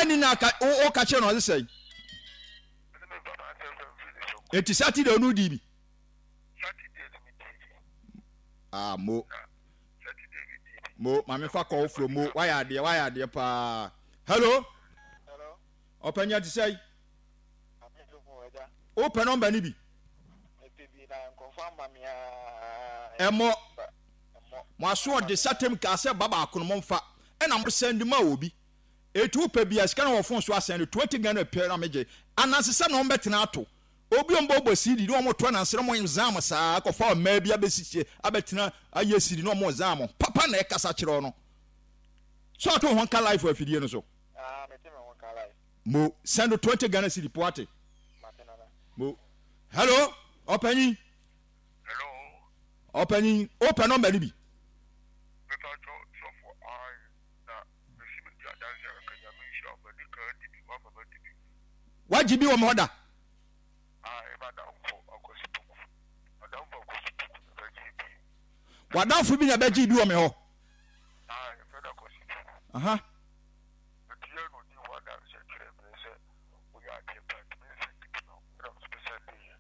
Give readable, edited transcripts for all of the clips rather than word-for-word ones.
Wanni na aka wo ka kyerɛ no ɔse sɛn? Eti Saturday ɔno di bi. Ah mo. Mo maame fa kɔ wofuro mo wayɛ adeɛ wayɛ adeɛ paa. Hello. Ɔpanyin ati sɛn? Wopɛ nɔmba no bi? Ɛmɔ. Mo asoɔde satem kaa sɛ ba baako no momfa ɛna mo sɛnde ma obi. Eti wopɛ bi a sika na wɔ fon so asɛnde 20 Ghana pɛ na megye. Anansesɛm na wɔbɛtena ato. Obi a wɔbɔbɔ CD na wɔto ananse na wɔn zam saa akɔfa mmaa bi abɛsisi abɛtena ayɛ CD na wɔn zam. Papa na ɛkasa kyerɛ no. So ato ho nka life wɔ afidie no so. Ah, mete me ho nka life. Mo send 20 Ghana cedi po ate. Mate nana. Mo. Hello, ɔpanyin. Hello. Ɔpanyin, wopɛ nɔmba no bi? Mepa kyɛw sɔfo ae na mesi me di adanse a kɛkɛ Nyame nhyira wo madi kan adi bi wama madi bi. Wagye bi wɔ me hɔ da? Ae madamfo Akwasi Poku madamfo Akwasi Poku na bɛgyee bi. W'adamfo bi na bɛgyee bi wɔ me hɔ? Ae yɛfrɛ no Akwasi Poku. Aha. Enti yɛ na ɔdii ho adanseɛ kyerɛɛ me sɛ woyɛ adeɛ pa nti me nsɛnde bi ma wo ɛna me nso me sɛndeeɛ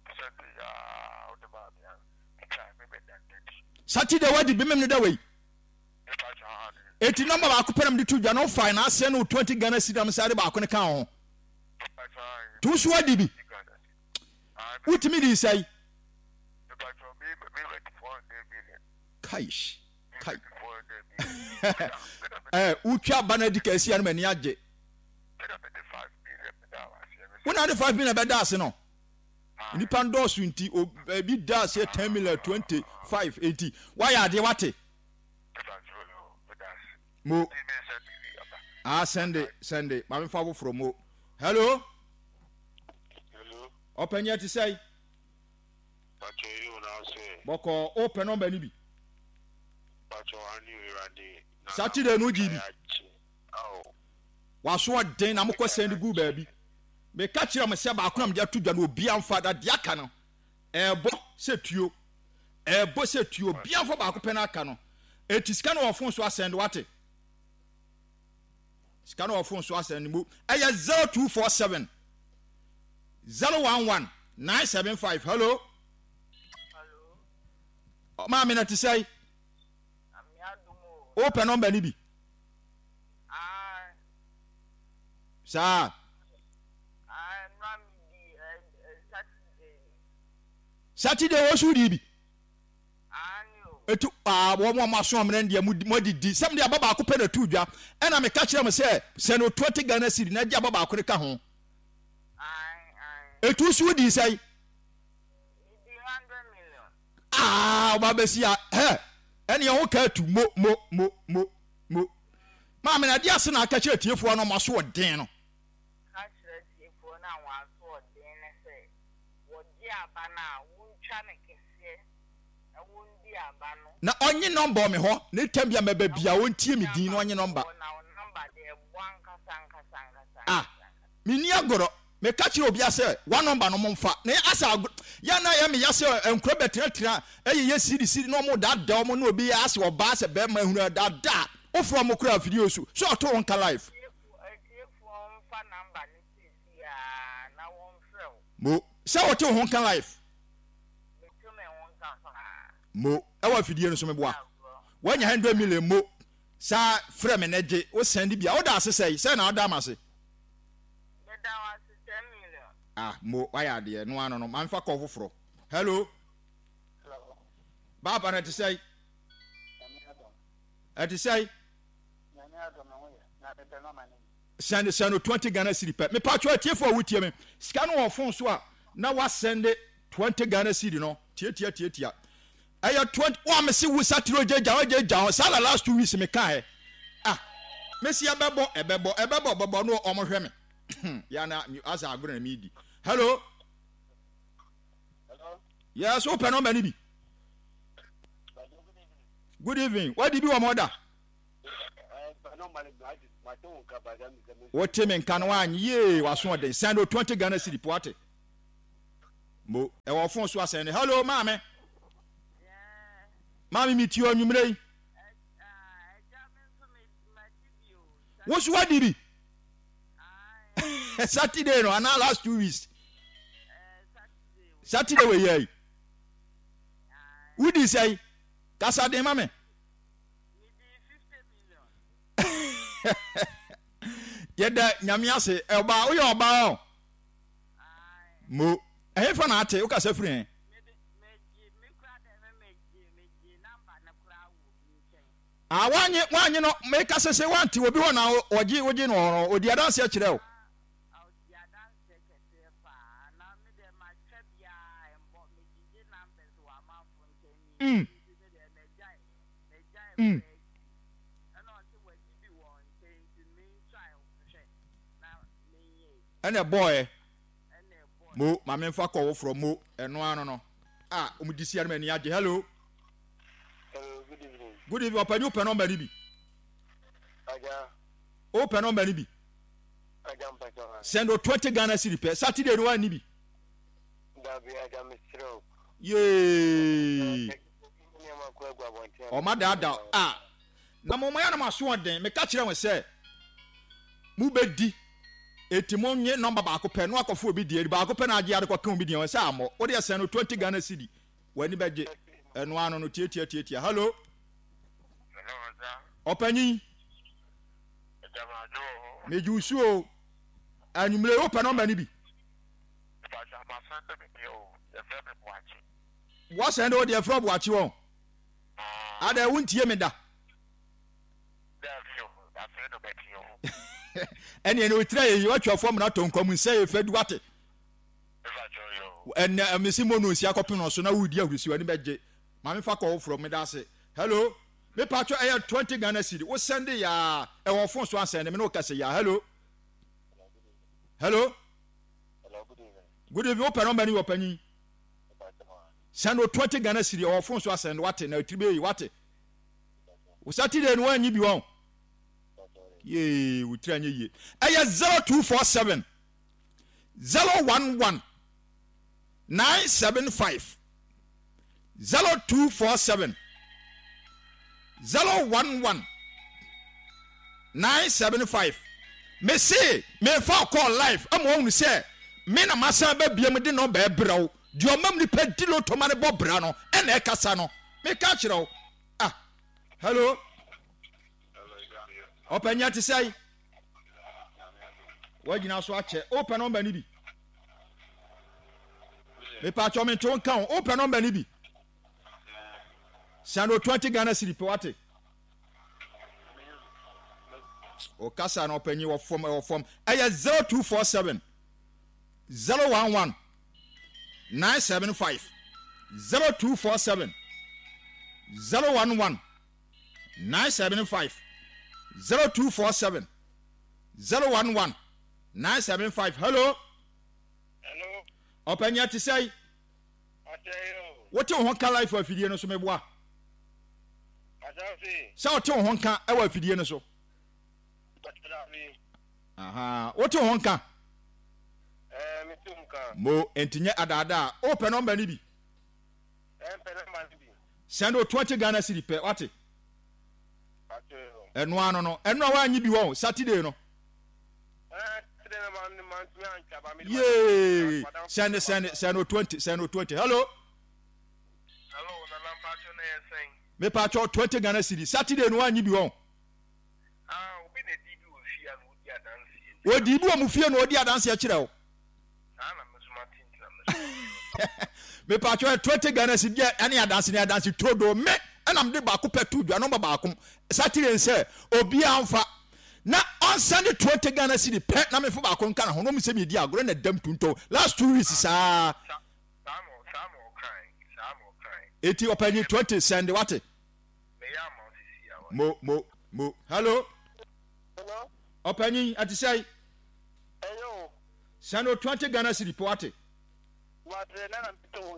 me sɛndeeɛ aa wode maa me a metwae me bɛda no adi. Saturday wadi bemem no da wei. Eti nɔmba baako pɛ na mede to dwa na wofae na asɛn no 20 Ghana cedi na mesan de baako no kaa ho. Nti wo nso wadi bi. Wotumi dii sɛe. Kaish. Kai. Eh, wotwa aba no adi ka asia no m'ani agye. Wo na de 5 million bɛda ase no. Nnipa ndɔɔso nti ebi da aseɛ 10 million 25 nti woayɛ adeɛ wate. Mo. Ah, sɛnde sɛnde maame fa foforɔ mo. Hello. Hello. Ɔpanyin ɛte sɛn? Pacho yi o na ɔsɛ. Bɔkɔ o pɛ nɔmba ni bi. Pacho ani ewurade. Saturday no gyi bi. Waso ɔden na mokɔ sɛn de gu baabi. Meka kyerɛ mo sɛ baako na mede ato dwa no obiara mfa da deɛ aka no ɛɛbɔ sɛ tuo ɛɛbɔ sɛ tuo obiara mfa baako pɛ no aka no eti sika no wɔ fon so asɛn de wate sika no wɔ fon so asɛn de mu ɛyɛ 0247 011 975 hello maame na te sɛ wopɛ nɔmba no bi saa Saturday wɔ so di bi etu aa wɔn a wɔaso amena deɛ mo adidi sɛm de aba baako pɛ na tu dwa ɛna meka kyerɛ mo sɛ sɛ no 20 Ghana cedi na gye aba baako no ka ho etu so di sɛn aa ɔba bɛsi a hɛ ɛne ɛho ka atu mo mo mo mo mo maame na adeɛ ase na aka kyerɛ tiefoɔ no ɔmo aso ɔden no. Ka kyerɛ atiefoɔ no a wɔn aso ɔden no sɛ wɔgye aba no a, wontwa no kɛseɛ na wɔndi aba no. Na ɔnye nɔmba wɔ me hɔ, ne tam bi a mɛba Na biara ɔntie wɔndi me din na aba ɔnye no nɔmba. wɔ hɔ, na wo nɔmba deɛ ɛbɔ ankasa ankasa ankasa Ah, ankasa ankasa. menni agorɔ. Meka kyerɛ obiara sɛ, W'anɔmba no momfa. Na asɛ agorɔ, yɛ a na ɛyɛ me ya sɛ nkura bɛtenatena ɛyeyɛ siri siri na wɔn daadaa wɔn na obi yɛ asɛ ɔbaa sɛ bɛrima ehunu ɛdaadaa. Wofrɛ wɔn koraa afidie so, sɛ ɔto wo nka live. Atiefo, atiefoɔ mfa number no seesei ara na wɔmfrɛ wo. Mo, sɛ wote wo ho nka live. Meto me ho nka paa. Mo, ɛwɔ afidie no so meboa. Ɛnyɛ agorɔ. Woanya 100 million mo, saa frɛ me na gye, wo sɛnde bi a, woda ase sɛe, sɛn na woda m'ase? Meda wo ase 10 million. Ah, mo, wayɛ adeɛ, no ano no, ma mfa kɔɔ foforɔ. Hello. Hello. Baaba no ɛte sɛe? Nyame adom. Ɛte sɛe? Nyame adom me ho yɛ na mepɛ no ama ne. Sɛnde sɛn no 20 Ghana cedi pɛ. Mepatwɔ atiefo a wotie me. Sika no wɔ phone so a na wasɛnde 20 Ghana cedi no. Tiatia tiatia. Ɛyɛ 20 wa mese wo satire ogyagya ogyagya ho. Saa na last 2 weeks me ka ɛ. Ah. Mese ɛbɛbɔ ɛbɛbɔ ɛbɛbɔ ɛbɛbɔ no ɔmo hwɛ me. Ya na asa agorɔ na me di. Hello. Hello. Yes, wo pɛ nɔmba ni bi. Good evening. Wadi bi wɔ mo da? Wote me nka no anyɛ yie waso ɔden. Send o 20 Ghana cedi po ate. Mo ɛwɔ phone so asɛn ne. Hello maame. Maame mi tie ɔnwumire yi. Wo so wadi bi. Saturday no anaa last 2 weeks? Saturday wɔ yɛ yi. Wodi sɛn? Kasa den ma me. Yɛda Nyame ase. Ɔbaa, woyɛ ɔbaa o. Mo, ɛhefa na ate? Wokasa firi he? Ah, wanye, wanye no, meka sɛ sɛ wante obi hɔ na ɔgye, wogye no hɔ no, ɔdi adanseɛ kyerɛ o. Mm. Ɛna ɛbɔɔɛ. Mo, ma memfa kɔ woforɔ mo, ɛno ano no. A, wɔn di si anum ani agye. Hello. Hello, good evening. Good evening, ɔpɛni wopɛ nɔmba ni bi. Aja. Wopɛ nɔmba ni bi. Aja mpakyɛ wa. Send o 20 Ghana cedi pɛ. Saturday no wa ni bi. Dabi aja mesrɛ o. Yee. Ɔma daadaa a. Na mo yɛ na mo asoɔden. Meka kyerɛ wɔn sɛ mobɛdi. Eti mo nye nɔmba baako pɛ na wakɔfo obi deɛ. Baako pɛ na agye ade kɔka obi deɛ wɔn sɛ ammɔ. Wo deɛ sɛn no 20 Ghana cedi. W'ani bɛgye. Ɛno ano no tietia tietia. Hello. Ɔpanyin. Megye wo su o. Anwummere wopɛ nɔmba no bi. Wɔsɛn de wo deɛ frɛ Boakye wɔn. Adɛ wontie me da. Ɛneɛ ne otira yɛ yi watwa fam na tɔ nkwa mu nsɛ yɛ fɛ du wate. Ɛnɛ mesi mo no nsi akɔpem no so na wodi ahurisi w'ani bɛgye. Maame fa kɔ woforɔ meda ase. Hello. Me patro ɛyɛ 20 Ghana cedi. Wo sɛnde yaa ɛwɔ phone so asɛnde me ne wo kɛse yaa. Hello. Hello. Good evening. Wopɛ nɔmba ni wɔ panyin. Send o 20 Ghana cedi ɔwɔ phone so asɛnde wate na tiri bɛyi wate. Wo Saturday no wanyi bi wɔn. Yee, wo tiri anyɛ yie. Ɛyɛ 0247 011 975 0247 011 975. Mese memfa ɔkɔɔ live ama wɔhunu sɛ me na masan ba biam de nɔmba ɛbrɛ wo. Deɛ ɔmam nipa di loto ma no bɔ bra no ɛna ɛkasa no. Meka kyerɛ wo. Ah, hello. Ɔpanyin te sɛn? Wagyina so akyɛ. Wopɛ nɔmba no bi? Mepatwɔ mente wo nka ho. Wopɛ nɔmba no bi? Send o 20 Ghana cedi pɛ wate. Ɔkasa na ɔpanyin wɔ fam ɛwɔ fam. Ɛyɛ 0247 011 975 0247 011 975 0247 011 975. Hello. Hello. Ɔpanyin te sɛn? Wote wo ho nka life wɔ afidie no so meboa? Sɛ wote wo ho nka wɔ afidie no so. Aha, wote wo ho nka? Mo, enti nyɛ adaadaa. Wopɛ nɔmba no bi? Send o 20 Ghana cedi pɛ, wate? Ɛno ano no, ɛno a woanyi bi wɔ Saturday no. Yee! Send, send, send o 20, send o 20. Hello? Hello, Nana Mpacho na yɛ sɛn? Me pacho 20 Ghana cedi. Saturday no woanyi bi wɔ. Ah, obi na di bi wɔ fie a na odi adanseɛ. Odi bi wɔ mo fie na odi adanseɛ kyerɛ wo. Saa na me so mate nti na me so. Me pacho 20 Ghana cedi deɛ ɛne adanse ne adanse turodoo me ɛna mede baako pɛ to dwa nɔmba baako Saturday nsɛ obiara mfa na ɔnsɛnde 20 Ghana cedi pɛ na mefa baako nka ne ho na ɔmu sɛ medi agorɔ na dam tuntɔn last 2 weeks saa. Eti ɔpanyin 20 sɛnde wate. Mo mo mo hello. Ɔpanyin ɛte sɛ. Sɛnde o 20 Ghana cedi pɛ wate.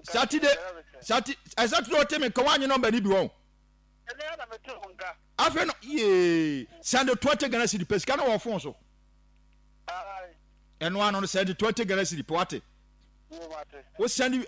Saturday Saturday Saturday ɔte me nka wanye nɔmba ni bi wɔn. Afei no yee sɛnde 20 Ghana cedi pɛ sika no wɔ fon so. Ɛno ano no sɛnde 20 Ghana cedi pɛ wate. Wo sɛnde me.